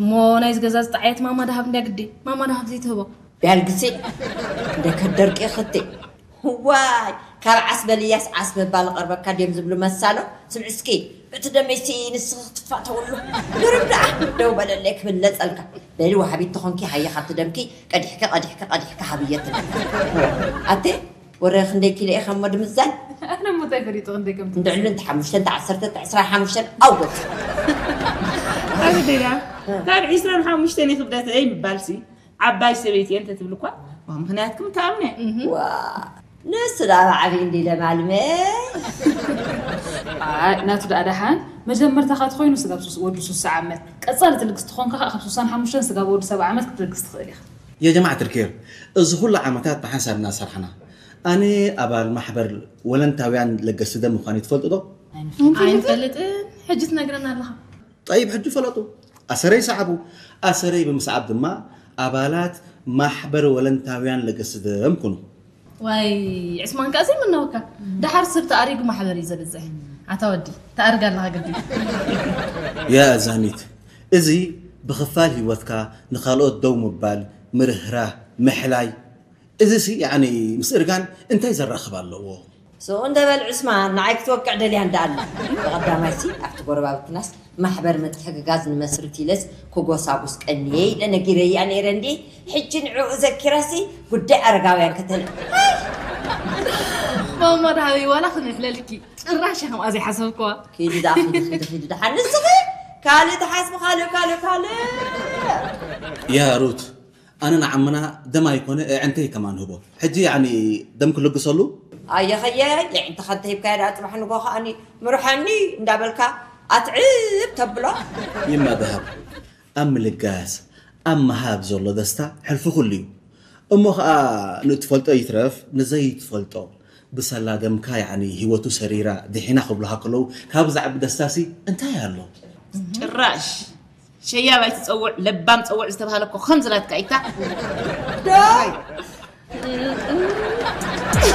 እሞ ናይዚ ገዛ ዝጠዓየት ማማ ደሃብ እንድያ ግዲ። ማማ ደሃብ ዘይትህቦ። ቢያልግሴ እንደ ከደርቂ ኽቴ ዋይ ካብ ዓስ በልያስ ዓስ ምባል ቀርበካ ድዮም ዝብሉ መሳሎ። ስምዒ እስኪ እቲ ደመይሲ ንስኺ ክትፋተውሉ ድርብ ደኣ ደው በለለይ ክብለጸልካ። በሊ ወሃቢት ተኾንኪ ሃየ ካብቲ ደምኪ ቀዲሕኪ ቀዲሕኪ ቀዲሕኪ ሃብየት ኣቴ ወረ ክንደይ ኪሎ ኢኻ እሞ ድምዛን ኣነ ሞታይ ፈሊጡ ክንደይ ከም እንድዕሉ እንተ ሓሙሽተ እንተ ዓሰርተ እንተ ዕስራ ሓሙሽተ ኣውጎት ኣግደያ ካብ ዕስራን ሓሙሽተን ክብደተይ ምባልሲ ዓባይ ሰበይቲ እየ እንተትብል እኳ ዋ ምኽንያትኩም ተኣምነ ዋ ንሱ ዳ ብዓብይ እንዲ ለማልመ ኣይ ናቱ ደኣ ደሓን መጀመርታኻ ተኾይኑ ስጋብ ሱስ ወዲ ሱሳ ዓመት ቀጻሊ ትልግስ ትኾንካ ከዓ ካብ ሱሳን ሓሙሽተን ስጋብ ወዲ ሰብዓ ዓመት ክትልግስ ትኽእል ኢኻ የጀማዓት ልኬር እዚ ኩሉ ዓመታት ብሓንሳብ እናሰርሕና ኣነ ኣባል ማሕበር ወለንታውያን ለገስቲ ደም ምዃነይ ትፈልጡ ዶ? ኣይንፈልጥን ሕጂ ትነግረና ኣለኻ ጠይብ ሕጂ ፈለጡ ኣሰረይ ሰዓቡ ኣሰረይ ብምስዓብ ድማ ኣባላት ማሕበር ወለንታውያን ለገስቲ ደም ኩኑ ዋይ ዕስማን ከኣ ዘይምነወካ ደሓር ሰብ ተኣሪጉ ማሕበር እዩ ዘብዝሕ ኣታ ወዲ ተኣርግ ኣለኻ ግዲ ያ ዛኒት እዚ ብኽፋል ህይወትካ ንኻልኦት ደው ምባል ምርህራህ ምሕላይ እዚሲ ያኒ ምስ እርጋን እንታይ ዘራኽብ ኣለዎ? ሱቕ እንደ በል ዑስማን ንዓይ ክትወቅዕ ደልያ እንዳ ኣላ። ብቐዳማይሲ ኣብቲ ጎረባብትናስ ማሕበር ምትሕግጋዝ ንመስርት ኢለስ ክጎሳጉስ ቀንየ ኢለ ነጊረያ ነይረ እንድየ። ሕጂ ንዕኡ ዘኪረሲ ጉዳይ ኣረጋውያን ከተል ማማ ደሃበይ ዋላ ክንሕለልኪ ጭራሽ ከምኣ ዘይሓሰብክዋ። ኪዲ ደኣ ኪዲ ኪዲ ኪዲ ደሓን ንስኺ ካልእ ትሓስቢ ካልእ ካልእ ካልእ። ያ ሩት ኣነ ንዓምና ደም ኣይኮነ ኣዕንተይ ከማን ህቦ ሕጂ ያኒ ደም ክልግሰሉ ኣየኸየ የዕንትኻ እንተሂብካዮ ደኣ ፅባሕ ንጎ ከኣኒ ምርሐኒ እንዳበልካ ኣትዕብ ተብሎ ይማ ደሃብ ኣብ ምልጋስ ኣብ ምሃብ ዘሎ ደስታ ሕልፊ ኩሉ እዩ እሞ ኸኣ ንእትፈልጦ ይትረፍ ንዘይትፈልጦ ብሰላ ደምካ ያኒ ህይወቱ ሰሪራ ድሒና ክብሉኻ ከለዉ ካብ ዝዓቢ ደስታሲ እንታይ ኣሎ ጭራሽ ሸያብ ኣይትጸውዕ ለባም ጸውዕ ዝተባህለ እኮ ከምዚ ናትካ ኢታ